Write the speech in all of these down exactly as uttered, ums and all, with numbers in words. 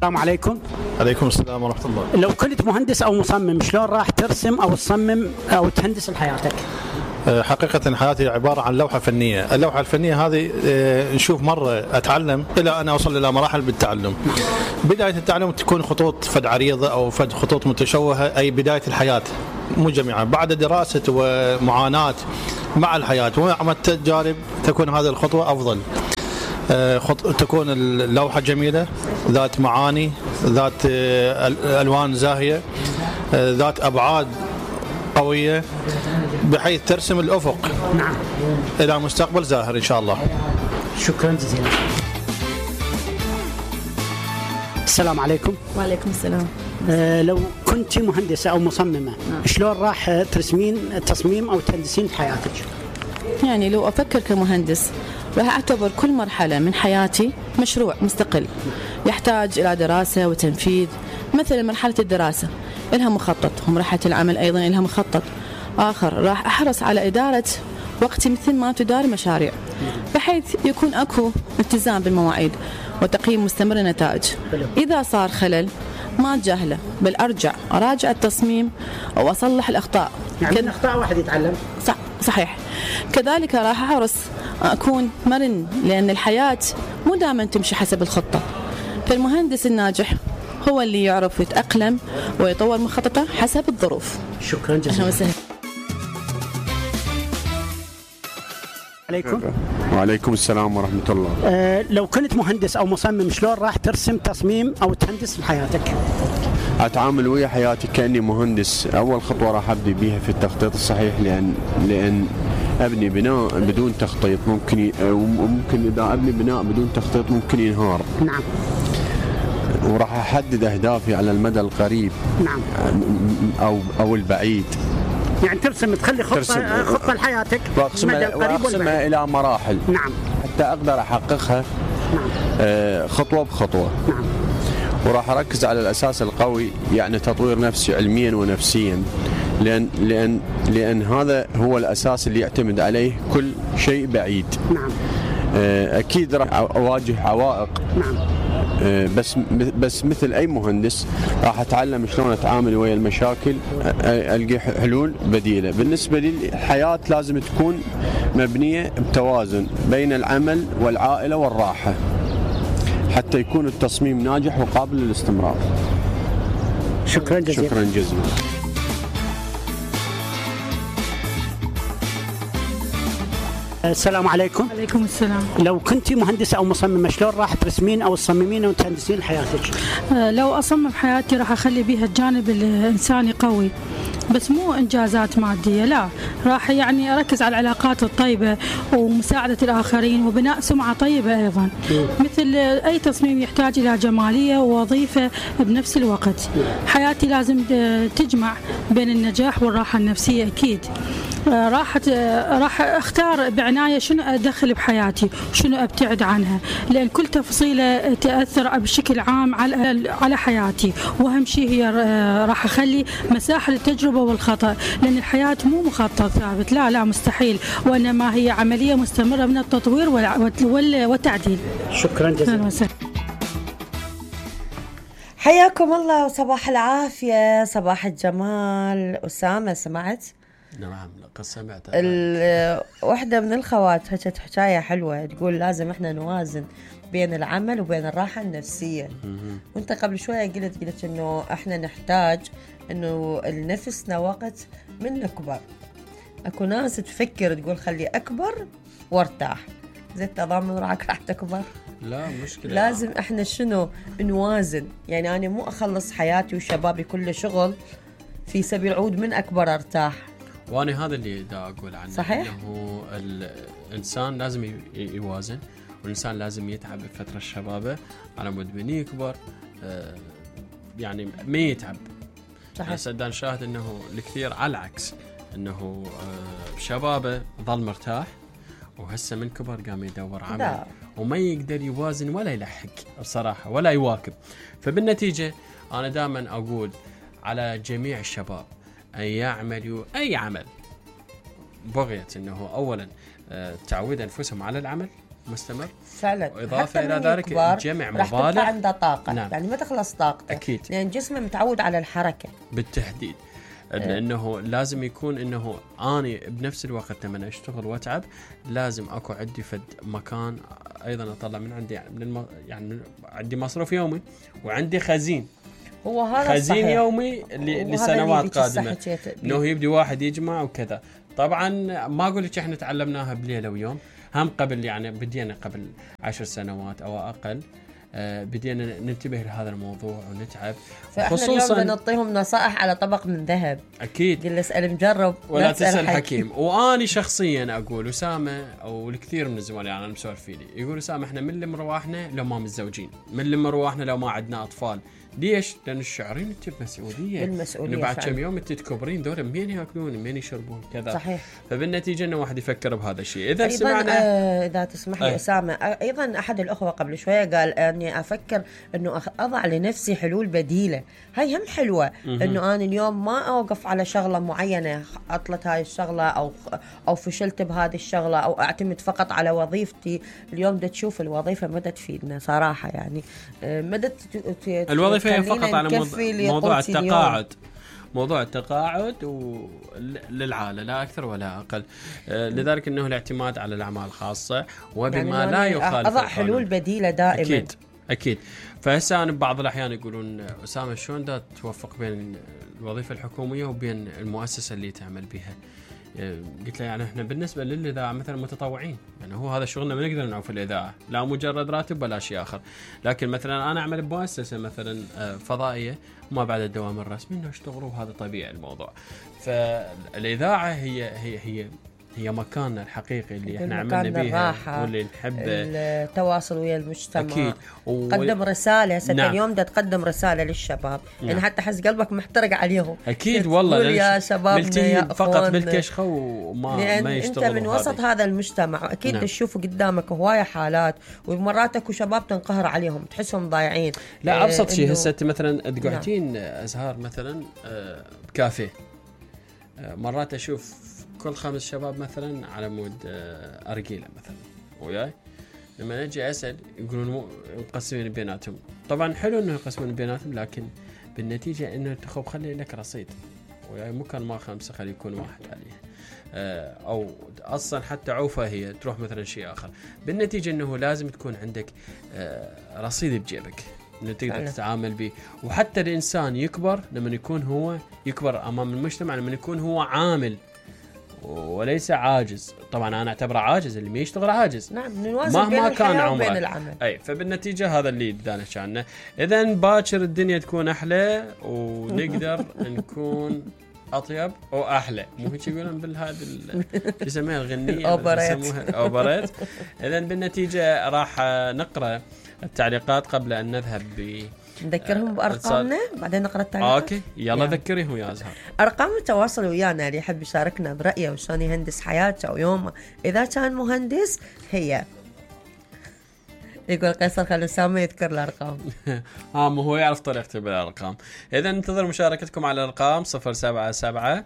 السلام عليكم. عليكم السلام ورحمة الله. لو كنت مهندس أو مصمم شلون راح ترسم أو تصمم أو تهندس لحياتك؟ حقيقة حياتي عبارة عن لوحة فنية. اللوحة الفنية هذه نشوف مرة أتعلم إلى أن أوصل إلى مراحل بالتعلم. بداية التعلم تكون خطوط فد عريضة أو فد خطوط متشوهة، أي بداية الحياة مو جميعا. بعد دراسة ومعاناة مع الحياة ومع التجارب تكون هذه الخطوة أفضل. تكون اللوحة جميلة، ذات معاني، ذات ألوان زاهية، ذات أبعاد قوية، بحيث ترسم الأفق نعم إلى مستقبل زاهر إن شاء الله. شكرا جزيلا. السلام عليكم. وعليكم السلام. آه لو كنت مهندسة أو مصممة نعم. شلون راح ترسمين تصميم أو تهندسين حياتك؟ يعني لو أفكر كمهندس راح أعتبر كل مرحلة من حياتي مشروع مستقل يحتاج إلى دراسة وتنفيذ. مثلا مرحلة الدراسة إلها مخطط، ومرحلة العمل أيضا إلها مخطط آخر. راح أحرص على إدارة وقتي مثل ما تدار مشاريع، بحيث يكون أكو التزام بالمواعيد وتقييم مستمر للنتائج. إذا صار خلل ما أتجاهله، بل أرجع أراجع التصميم أو أصلح الأخطاء. يعني من أخطاء واحد يتعلم. صح صحيح. كذلك راح أحرص أكون مرن، لأن الحياة مو دائما تمشي حسب الخطة. فالمهندس الناجح هو اللي يعرف يتأقلم ويطور مخططه حسب الظروف. شكرا جزيلا. عليكم. وعليكم السلام ورحمة الله. أه لو كنت مهندس أو مصمم شلون راح ترسم تصميم أو تهندس حياتك؟ أتعامل ويا حياتي كأني مهندس. أول خطوة راح أبدي بيها في التخطيط الصحيح، لأن لأن أبني بناء بدون تخطيط ممكن ي... ممكن إذا أبني بناء بدون تخطيط ممكن ينهار. نعم. وراح أحدد أهدافي على المدى القريب نعم أو أو البعيد. يعني ترسم تخلي خطة ترسم خطة لحياتك مدى القريب والبعيد إلى مراحل. نعم. حتى أقدر أحققها. نعم. آه خطوة بخطوة. نعم. وراح أركز على الأساس القوي، يعني تطوير نفسي علميا ونفسيا، لأن لأن لأن هذا هو الأساس اللي يعتمد عليه كل شيء بعيد. نعم. آه أكيد راح أواجه عوائق. نعم. بس بس مثل أي مهندس راح أتعلم شلون أتعامل ويا المشاكل، ألقي حلول بديلة. بالنسبة لي الحياة لازم تكون مبنية بتوازن بين العمل والعائلة والراحة، حتى يكون التصميم ناجح وقابل للاستمرار. شكرا جزيلا. شكرا جزيلا. السلام عليكم. عليكم السلام. لو كنت مهندسة أو مصممة شلون راح ترسمين أو تصممين أو تهندسين حياتك؟ لو أصمم حياتي راح أخلي بيها الجانب الإنساني قوي، بس مو إنجازات مادية، لا، راح يعني أركز على العلاقات الطيبة ومساعدة الآخرين وبناء سمعة طيبة أيضا. مثل أي تصميم يحتاج إلى جمالية ووظيفة بنفس الوقت. حياتي لازم تجمع بين النجاح والراحة النفسية أكيد. راح راح اختار بعناية شنو ادخل بحياتي وشنو ابتعد عنها، لان كل تفصيله تاثر بشكل عام على على حياتي. واهم شيء هي راح اخلي مساحه للتجربه والخطا، لان الحياه مو مخطط ثابت، لا لا مستحيل، وانما هي عمليه مستمره من التطوير والتعديل. شكرا جزيلا. حياكم الله وصباح العافيه، صباح الجمال. اسامه سمعت؟ نعم لقد سمعت. واحدة من الخوات حكت حكاية حلوة، تقول لازم احنا نوازن بين العمل وبين الراحة النفسية. وانت قبل شوية قلت قلت انه احنا نحتاج انه لنفسنا وقت من نكبر. اكو ناس تفكر تقول خلي اكبر وارتاح، زي تضامن راك راح تكبر. لا مشكلة. لازم احنا شنو نوازن، يعني انا مو اخلص حياتي وشبابي كله شغل في سبيل عود من اكبر ارتاح. وانا هذا اللي دا اقول عنه. صحيح. انه الانسان لازم يوازن، والانسان لازم يتعب بفتره الشبابه على مود من يكبر آه يعني ما يتعب. صحيح. سدان شاهد انه الكثير على العكس، انه آه شبابه ظل مرتاح، وهسه من كبر قام يدور عمل دا. وما يقدر يوازن ولا يلحق بصراحه ولا يواكب. فبالنتيجه انا دائما اقول على جميع الشباب أن يعملوا أي عمل بغية أنه أولا تعود أنفسهم على العمل، مستمر فعلا. واضافه الى ذلك جمع راح تبقى مبالغ عنده طاقه. نعم. يعني ما تخلص طاقته اكيد، لان جسمه متعود على الحركه بالتحديد. لانه لازم يكون انه اني بنفس الوقت لما اشتغل واتعب لازم اكو عندي فد مكان ايضا اطلع من عندي يعني, من الم... يعني عندي مصروف يومي وعندي خزين. هو هذا خزين الصحيح. يومي لسنوات قادمه انه يبدي واحد يجمع وكذا. طبعا ما اقول لك احنا تعلمناها بليله ويوم، هم قبل يعني بدينا قبل عشر سنوات او اقل آه بدينا ننتبه لهذا الموضوع ونتعب. خصوصا اليوم نعطيهم نصائح على طبق من ذهب. اكيد، قل اسال مجرب ولا تسال حكيم. واني شخصيا اقول اسامه او الكثير من الزملاء انا مسولف فيني يقول اسامه احنا من اللي مروحنا لو ما متزوجين، من اللي مروحنا لو ما عندنا اطفال. ليش؟ لان الشاعرين انت بمسؤوليه، المسؤوليه بعد كم يوم انت تكبرين دول مين ياكلون مين يشربون كذا. صحيح. فبالنتيجه انه واحد يفكر بهذا الشيء. اذا أيضاً سمعنا آه اذا تسمح لي اسامه، ايضا احد الاخوه قبل شويه قال اني افكر انه اضع لنفسي حلول بديله. هاي هم حلوه، انه انا اليوم ما اوقف على شغله معينه، عطلت هاي الشغله او او فشلت بهذه الشغله او اعتمد فقط على وظيفتي. اليوم دا تشوف الوظيفه مدى تفيدنا صراحه، يعني مدى الوظيفه هي فقط على موضوع التقاعد، موضوع التقاعد للعالة لا أكثر ولا أقل. آه لذلك أنه الاعتماد على الأعمال الخاصة وبما يعني لا يخالف أضع حلول بديلة دائما. أكيد أكيد. فهسه أنا ببعض الأحيان يقولون أسامة شلون دا توفق بين الوظيفة الحكومية وبين المؤسسة اللي تعمل بها؟ قلت له يعني احنا بالنسبه للاذاعه مثلا متطوعين، يعني هو هذا شغلنا ما نقدر نعوف الاذاعه، لا مجرد راتب ولا شيء اخر. لكن مثلا انا اعمل بمؤسسه مثلا فضائيه ما بعد الدوام الرسمي انه اشتغلوا، وهذا طبيعي الموضوع. فالاذاعه هي هي هي هي مكاننا الحقيقي اللي احنا عملنا بيها واللي نحب التواصل ويا المجتمع. اكيد. وقدم و... رساله هسه نعم. اليوم دا تقدم رساله للشباب، نعم. يعني حتى حس قلبك محترق عليهم. اكيد والله يا شبابنا يا فقط بالكشخه وما ما يشتغلوا. انت من وسط هذا, هذا المجتمع اكيد نعم. تشوفوا قدامك هوايه حالات، ومرات اكو شباب تنقهر عليهم تحسهم ضايعين. لا ابسط شيء هسه انت مثلا تقعدين نعم. ازهار مثلا بكافيه، مرات اشوف كل خمس شباب مثلا على مود أرجيلة مثلا وياي، لما نجي أسأل يقولون مقسمين بيناتهم. طبعا حلو إنه يقسمون بيناتهم، لكن بالنتيجة إنه تخوب خلي لك رصيد وياي، مو كان ما خمسة خلي يكون واحد عليه، أو أصلا حتى عوفة هي تروح مثلا شيء آخر. بالنتيجة إنه لازم تكون عندك رصيد بجيبك إنه تقدر تتعامل به. وحتى الإنسان يكبر لما يكون هو يكبر أمام المجتمع، لما يكون هو عامل وليس عاجز. طبعا انا اعتبره عاجز، اللي ما يشتغل عاجز. نعم، نوازن بين الحياة وبين العمل. اي فبالنتيجه هذا اللي بدنا عنه. اذا باكر الدنيا تكون احلى ونقدر نكون اطيب واحلى، مو هيك يقولون بالهذا يسموها الغنيه اوبريت اوبريت. اذا بالنتيجه راح نقرا التعليقات قبل ان نذهب ب نذكرهم بأرقامنا بعدين نقرأ التعليقات. اوكي يلا يعني. ذكريهم يا أزهار أرقام التواصل ويانا اللي يحب يشاركنا برأيه وشلون يهندس حياته أو يومه إذا كان مهندس. هي يقول قيصر خلي أسامة يذكر الأرقام. اه مو هو يعرف طريقته بالأرقام. إذا ننتظر مشاركتكم على الأرقام صفر سبعة سبعة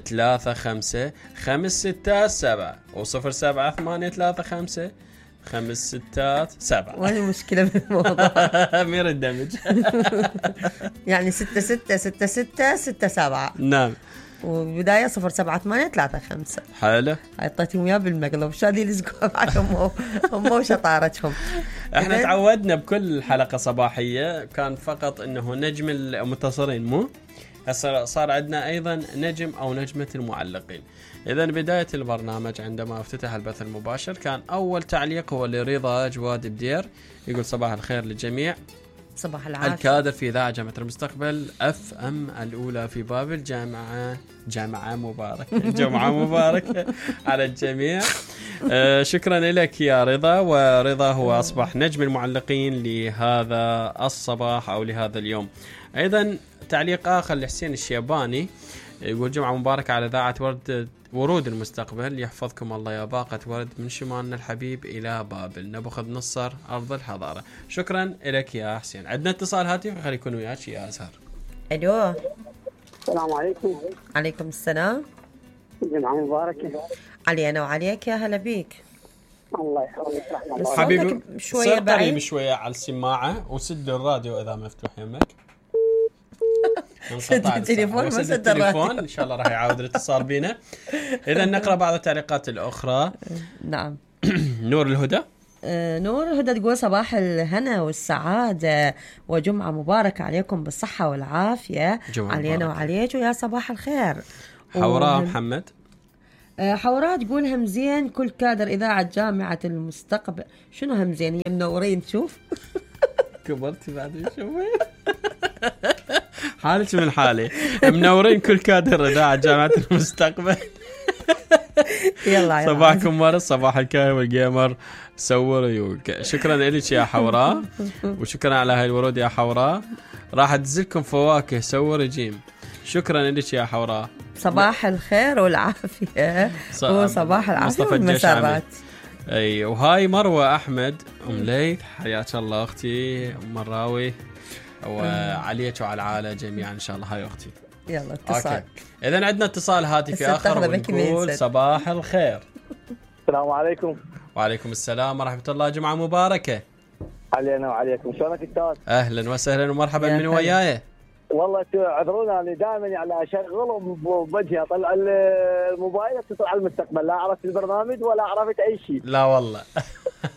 ثلاثة خمسة خمس ستة سبعة وصفر سبعة ثمانية ثلاثة خمسة خمس ستات سبعة. وهي مشكلة بالموضوع. مير الدمج. يعني ستة ستة ستة ستة ستة سبعة. نعم. وبداية صفر سبعة ثمانية ثلاثة خمسة. حلو. عطيتهم إياه بالمقلب شادي لزقوا بعدهم هم وشطارتهم. احنا تعودنا بكل حلقة صباحية كان فقط انه نجم المتصلين، مو هسه صار عندنا ايضا نجم او نجمة المعلقين. إذا بداية البرنامج عندما افتتح البث المباشر كان أول تعليق هو لرضا جواد بدير، يقول صباح الخير للجميع، صباح العافية. الكادر في إذاعة جامعة المستقبل اف ام الأولى في بابل، جامعة جامعة مباركة جمعة مباركة على الجميع. آه شكرا لك يا رضا. ورضا هو أصبح نجم المعلقين لهذا الصباح أو لهذا اليوم. أيضا تعليق آخر لحسين الشيباني يقول جمعة مباركة على إذاعة ورد ورود المستقبل، يحفظكم الله يا باقة ورد من شمالنا الحبيب إلى بابل، نبخذ نصر أرض الحضارة. شكرا لك يا حسين. عندنا اتصال هاتف خلي يكون وياك يا أزهر. ألو السلام عليكم. عليكم السلام. جمعة مباركة علينا وعليك، يا هلا بيك. الله يخليك رحمة الله. حبيبي شويه صير قريب بعيد. شويه على السماعه وسد الراديو اذا مفتوح يمك. سد التليفون، ما سد سد الراديو. التليفون ان شاء الله راح يعاود الاتصال بينا. اذا نقرا بعض التعليقات الاخرى. نعم. نور الهدى آه، نور الهدى تقول صباح الهنا والسعادة وجمعة مباركة عليكم بالصحة والعافية، جمعة علينا مباركة. وعليك ويا صباح الخير. حوراء وهم- محمد آه، حوراء تقول همزين كل كادر إذاعة جامعة المستقبل. شنو همزين؟ هي منورين تشوف. كبرتي بعد شوي. حالك من حالي. منورين كل كادر اذاعه جامعه المستقبل. يلا يلا. صباحكم ورد، صباح الكاهن والجيمر سور يوك. شكرا لك يا حوراء، وشكرا على هاي الورود يا حوراء. راح ادزلكم فواكه سور جيم. شكرا لك يا حوراء. صباح الخير والعافية ص- وصباح العافية مصطفى الجشعمي. والمسرات. اي وهاي مروه احمد ام ليث، حياك الله اختي ام مراوي، وعليك وعلى العائله جميعا ان شاء الله. هاي اختي. يلا اتصال. اوكي اذا عندنا اتصال هاتفي هسه اخر تاخذه بكي ونقول بينسد. صباح الخير. السلام عليكم. وعليكم السلام ورحمه الله، جمعه مباركه. علينا وعليكم، شلونك استاذ؟ اهلا وسهلا ومرحبا يا من هلا. وياي. والله اعذرونا انا دائما يعني اشغله بوجهي اطلع الموبايل اتصل على المستقبل، لا عرفت البرنامج ولا عرفت اي شيء. لا والله.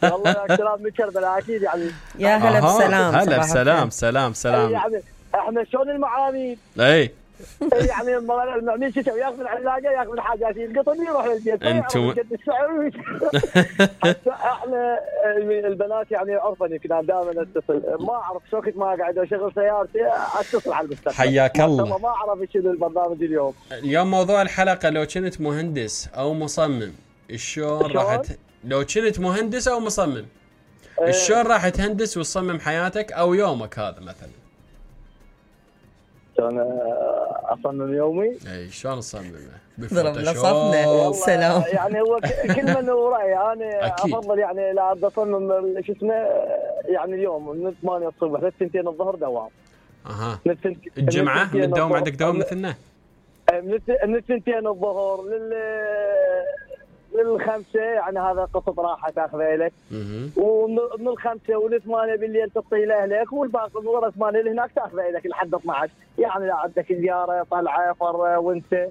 والله اكتراب من كربلاء اكيد يعني. يا هلا أها، بسلام. هلا صباح بسلام الخير. سلام سلام. يعني احنا شلون المعاميد اي يعني المعميل شو يسوي؟ ياخذ العلاقه ياخذ الحاجات يلقطني يروح للبيت. أنتم- يعرف قد السعر. حتى احنا البنات يعني عرفا يمكن انا دائما اتصل، ما اعرف شو كنت ما قاعد اشغل سيارتي اتصل على المستقبل. حياك ما الله. شاء ما اعرف شنو البرنامج اليوم. اليوم موضوع الحلقه لو كنت مهندس او مصمم شلون راح ت... لو كنت مهندس او مصمم شلون راح تهندس وتصمم حياتك او يومك هذا مثلا؟ شلون اصمم يومي؟ اي شلون تصممه؟ ضرب بالفوتوشوب؟ لصفنا. والله سلام. يعني هو ك- كل من ورأي انا أكيد. افضل يعني لا أبدأ اصمم ال- شو اسمه يعني اليوم من ثمانية الصبح للثنتين الظهر دوام. اها من الثنت- الجمعه الثنتين من الدوام الظهر. عندك دوام مثلنا؟ من الث- من الثنتين الظهر لل للخمسة يعني هذا قصة راحة تاخذها لك، اها ومن الخمسة وللثمانية بالليل تعطي لأهلك، والباقي من ورا ثمانية اللي هناك تاخذها لك لحد اثنا عشر، يعني لا عندك زيارة طلعة فر وانت.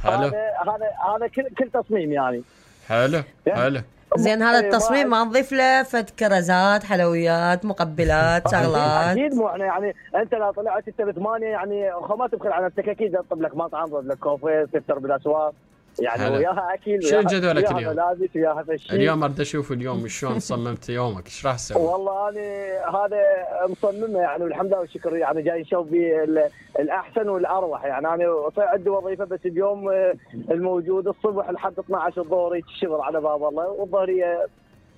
حلو هذا هذا هذا كل كل تصميم يعني. حلو حلو. زين هذا إيه، التصميم ما- ما نضيف له فد كرزات حلويات مقبلات شغلات. اكيد مو احنا يعني انت لو طلعت انت بثمانية يعني خو ما تبخل على نفسك، اكيد تطلب لك مطعم تطلب لك كوفي تفطر بالاسواق يعني حلو. وياها اكل شنو وياها- جدولك وياها اليوم؟ ملابس وياها هذا الشيء. اليوم اريد اشوف اليوم شلون صممت يومك، ايش راح تسوي؟ والله انا هذا مصممه يعني والحمد لله والشكر، يعني جاي نشوف بالاحسن والاروح. يعني انا صار عندي وظيفه بس اليوم الموجود الصبح لحد اثنا عشر الظهر الشغل على باب الله، والظهريه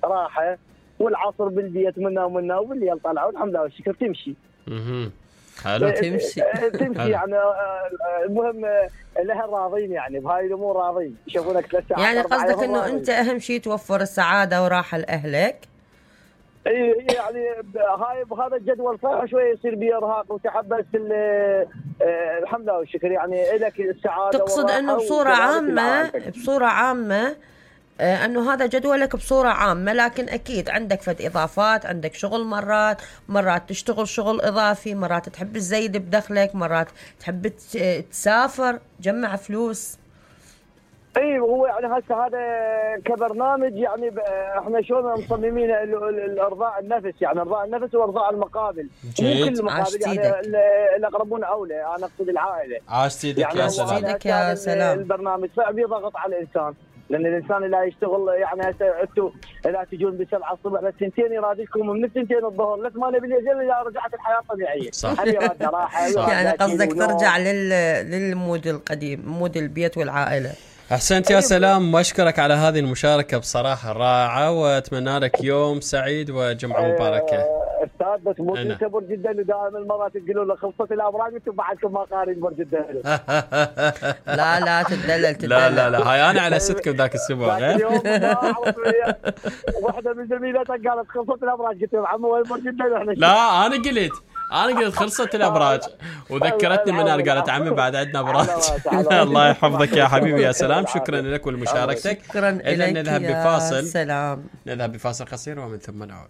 راحه، والعصر بالبيت منا ومنا، وبالليل طلعوا والحمد لله والشكر تمشي. اها حلو. تمشي. تمشي حلو. يعني آه، المهم آه، الاهل راضين يعني بهاي الامور راضين، يشوفونك ثلاث ساعات يعني أربع قصدك يوم انه راضين. انت اهم شيء توفر السعاده وراحه لاهلك. اي يعني ب- هاي بهذا الجدول صح شوي يصير بي ارهاق وتعب، بس ال- آه، الحمد لله والشكر يعني لك السعاده. تقصد والراحة انه بصوره وكذلك عامه لعائلتك. بصوره عامه آه، انه هذا جدولك بصوره عامه، لكن اكيد عندك فد اضافات، عندك شغل مرات مرات تشتغل شغل اضافي، مرات تحب تزيد بدخلك، مرات تحب ت- تسافر تجمع فلوس. اي هو يعني هسه هذا كبرنامج يعني ب- احنا شلون مصممين ال- ال- الارضاء النفس، يعني ارضاء النفس وارضاء المقابل. جيد. مو كل المقابل عاشت يعني إيدك. ال- الاقربون اولى، انا اقصد العائله. عاشت ايدك يعني يا هو سلام. هذا إيدك يا كان سلام. البرنامج صعب يضغط على الانسان، لان الانسان اللي يشتغل يعني هسه انتم لا تجون بسبعة الصبح للثنتين يرادكم من الثنتين الظهر لثمانية بالليل اذا رجعت الحياه طبيعيه. صح. هل يراد راحه يراد يعني أكل قصدك ونوم. ترجع لل... للمود القديم، مود البيت والعائله. احسنت يا سلام، واشكرك على هذه المشاركه بصراحه رائعه، واتمنى لك يوم سعيد وجمعه مباركه. آه، استاذ بس مو أنا. انت برج الدلو دائما المرات تقولون له خلصت الابراج انتم بعدكم ما قارين برج الدلو. لا لا تدلل تدلل. لا لا لا هاي انا على ستكم ذاك الاسبوع. ذاك اليوم ما اعرف واحده من زميلاتك قالت خلصت الابراج، قلت لهم عمو وين برج الدلو احنا لا انا قلت انا قلت خلصت الابراج وذكرتني من انا قالت عمي بعد عندنا ابراج. الله يحفظك يا حبيبي يا سلام، شكرا لك ولمشاركتك. شكرا لك نذهب يا بفاصل سلام. نذهب بفاصل قصير ومن ثم نعود.